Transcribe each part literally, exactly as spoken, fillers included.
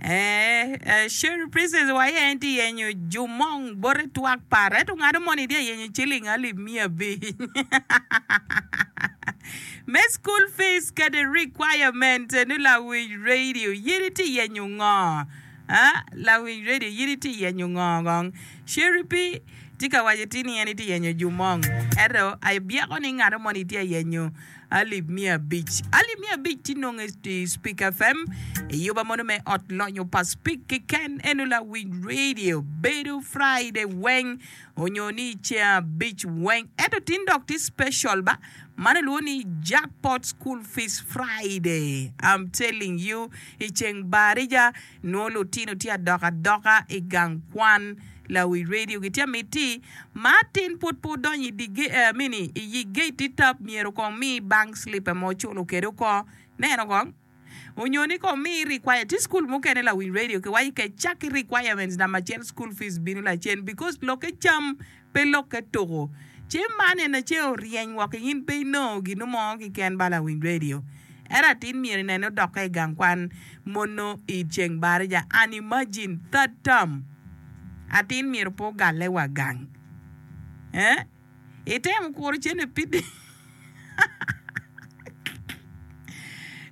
Eh, Sherry Princess wa en tye yenyo jumong bote twak par ento ngado moni tye yenyo ciling alip miya abic me school fees kede requirement eno lawiny radio in itye yenyo ngo Ah, lawiny radio in itye yenyo ngo kong Sherry P tye ka waco ti ni en itye yenyo jumong ento abyeko ni ngado moni tye yenyo alip miya abic alip miya abic tye nongo i Speak F M iyuba mono me ot lonyo pa Speak keken eno lawiny radio bedo Friday weng onyo ni ceng abic weng ento tin dok tye special ba mano luwo ni Jackpot School Fees Friday. I'm telling you, i ceng barija nwo lutino tye adok adoka i gang kwan. Lawi radio gitye miti ma tin pud pe odonyo i di eh, mini i yi gate tap myero kong mi bank slip ma oculo kede oko neno kong onyo ni kong mi require ti school mukene. Lawiny radio kiwaco ke cak ki requirements namba acel, school fees bino lacen because lokke cam pe lokke tuko ce man en ace oryeny woko in pe inongo gino mo keken ba. Lawiny radio ero atin myero inene odokke i gang kwan mono i ceng barija and imagine third term atin myero pe ogalle wa gang eh? Itemo kuro cene pidi,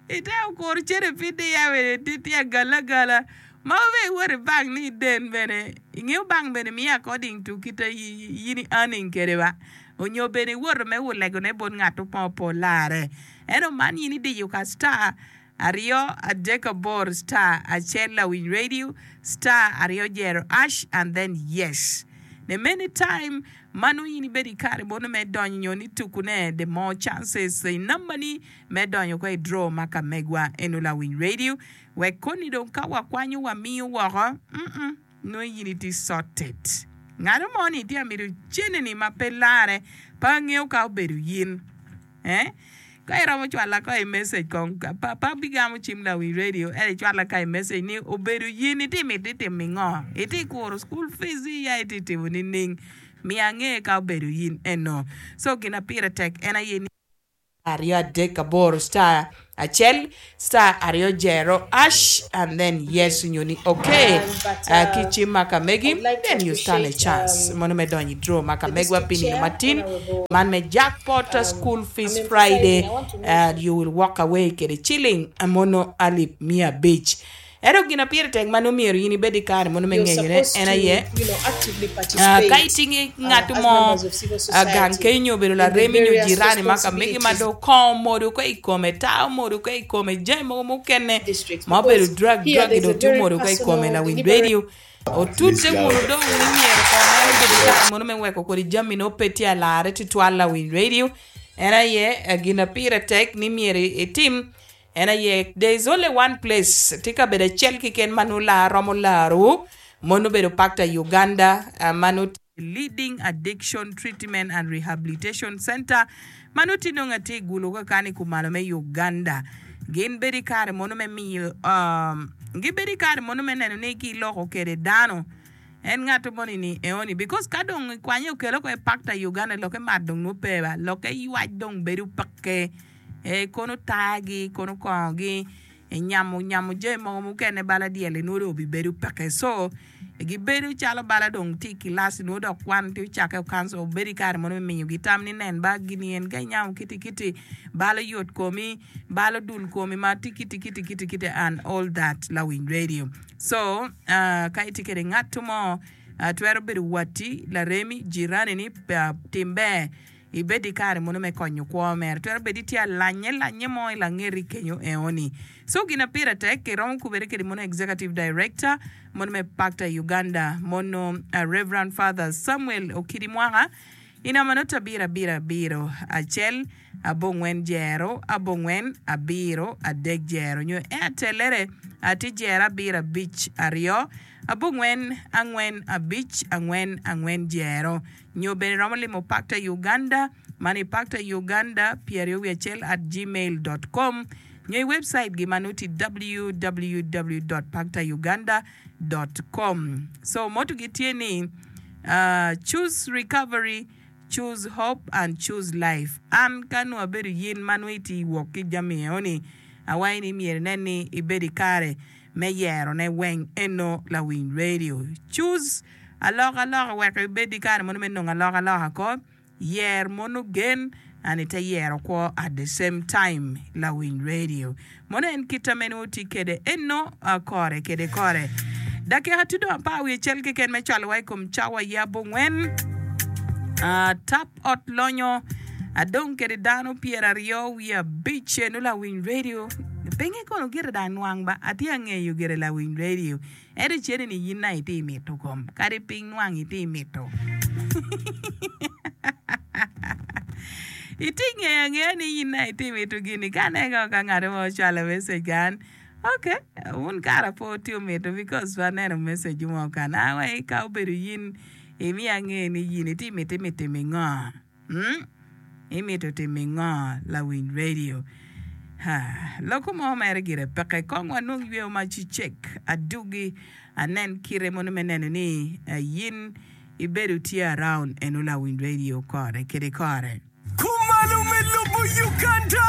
itemo kuro cene pidi ya bene tye agala agala ma be iwoto i bank ni iden bene ingeo bank bene miyo according to kite in i earning kede ba onyo bene iwoto me wulegone bot ngat mo pe olare. Ento man in idiyo ka star aryo adek aboro star acel, lawiny radio, star aryo jero hash and then yes. The many time mano in ibedo i kare mono me donyo nyo ni tukune, the more chances i namba ni me donyo ko i draw ma ka megwa eno. Lawiny radio, wek koni dong ka wakwanyo wamiyo woko mm -mm, nongo in itye sorted. Ngano mo ni tye amito ceneni ma pe lare pe angeo ka obedo yin eh? Ka iromo cwala ko i message kong pa, pa bigamo cim. Lawiny radio ento icwala ka i message ni obedo yin itye miti timo ingo, itye kuro school fees ya itye timo nining, miyo ange ka obedo yin eno. So gina pire tek en aye ni aryo adek aboro star acel star aryo jero hash and then yes nyo ni okay. Um, but uh, ki uh, cim ma ka megi I would like to then you stand a appreciate chance um, mono me donyo i draw ma ka the megwa district pi nino chair, matin Honorable. Man me jackpot Um, school I'm fees emphasizing, Friday I want to uh, mention you will walk away kede ciling mono alip mia abic. Ento gina pire tek mano myero in ibed i kare mono me you're ngeyone supposed en to, aye you know, actively Uh, ka participate itingi uh, ngat as mo members of civil uh, gang society kenyo obedo in the laremi nyo various jirani ma ka megi ma responsibilities do kongo modo ko i kome ta omodo ko i kome jami mogo mukene districts ma obedo because drug here drug there's do a tye very omodo ko i kome. personal, Lawiny deliberate radio otute wunu dong ni myero kong en obed i kare mono me weko kodi jami no pe tye alare tutwal. Lawiny radio en aye eh, gina pire tek ni myero itim en aye there is only one place, tye kabedo acel keken ma nongo lar romo laro mono obedo Pakta Uganda uh, mano Leading Addiction Treatment and Rehabilitation Center mano tye nongo atye i Gulu kakani kumalo me Uganda. Gin bedo i kare mono me miyo um, gibedo i kare mono me neno ni giloko kede dano en ngato moni ni eoni because ka dong ikwanye okelo ko e Pakta Uganda loke mat dong nwo pe ba loke ywac dong bedo peke e kono tagi kono kongogi nyamo nyamo jami mogo mukene bala dyel nwo dong obibedo peke. So gibedo calo bala dong tye i kilas nwo dok kwan tye ocake okanso obedo i kare mono me miyogi tam ni nen ba gini en ka inyamo kiti kiti balo yot komi balo dul komi ma tye kiti kiti kiti kiti and all that. Lawiny radio, so uh, ka itye kede ngat mo uh, twero bedo watti, laremi, jirani ni uh, tim ber ibed i kare mono me konyo kwo mere twero bedo itye alanye lanye mo i langeti kenyo eoni. So gina pire tek iromo kubere kede mono executive director mono me Pakta Uganda mono uh, Reverend Father Samuel Okidi Mwaka i namba noto abiro abiro abiro acel abongwen jero abongwen abiro adek jero nyo Airtel atye jero abiro abic aryo abongwen angwen abic angwen angwen jero nyo bene romo limo Pakta Uganda man i Pakta Uganda pyeraryo wiye acel at gmail com nyo i website gi ma noti w w w dot paktauganda dot com. So motto gi tye ni uh, "Choose recovery, choose hope and choose life." An ka nongo abedo yin ma nongo itye wok ki jami eoni awaci ni myero inen ni ibedo i kare Me yerone weng eno Lawiny Radio. Choose alokaloka wek ibed ki kare mono me nongo alokaloka ko. Yer mono gen and ite yero kwo at the same time Lawiny Radio. Mono en kita mene wuti kede eno kore kede kore. Dakika tye dong apar wiye acel keken me cwalowa i kom cawa ya abongwen. Tap ot lonyo adong kede dano pyeraryo wiye abic eno Lawiny Radio. Pinge kono gire dong anwang ba atye angeyo gire Lawiny Radio. Ento cene ni in na itye mito kom kadi piny nwang itye mito. Itye ngeyo angeya ni in na itye mito gini ka aneno ka ngat mo ocwalo message kan ok wun kara pe wutye mito because pe aneno message mo kan awe ka obedo in imiyo ange ni in itye miti me timo ngo hmm? Imito timo ngo Lawiny Radio? Ha, loko mo mere gire peke. Kong wanong yweyo ma cicek adugi anen kite mono me neno ni yin ibedo tye around eno Lawiny Radio kore kede kore. Kumalo me lobo Uganda!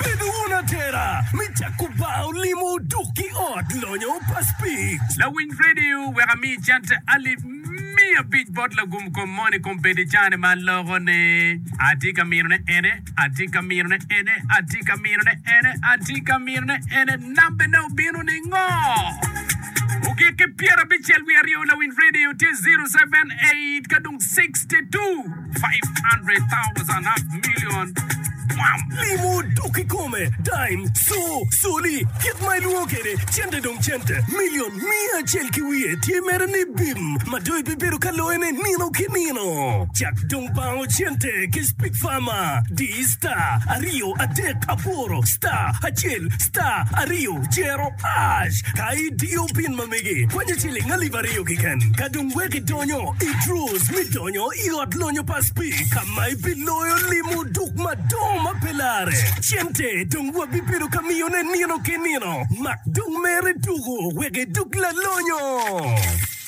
Bedo wun atera me cako bar olimo oduk ki ot lonyo pa Speke. Lawiny Radio wek ami cente alip miya abic bot lagum kom moni kom bedo i cane ma aloko ni atye ka mino ne ene, atye ka mino ne ene, atye ka mino ne ene, atye ka mino ne ene, nambe ne obino ni ngo? Ogik ki pyerabicel wiye aryo Lawiny Radio tye zero seven eight ka dong sixty two five hundred thousand half million bwam. Limo dok kikome, dime, co, coli, kit ma ilwongo kwede, cente dong cente, milion miya acel ki wiye tye mere ni bim ma dong ibibedo ka loyone nino ki nino. Cak dong bango cente ki Speak Farmer, di star aryo adek aboro star acel star aryo jero hash ka idiyo pin ma megi kwanyo ciling alip aryo keken ka dong wek idonyo i draws me donyo i ot lonyo pa Speak ka ma ibiloyo limo duk madongo ma pe lare. Cente dong wabibedo ka miyone nino ki nino. Mak dong mere tuko wek iduk lalonyo.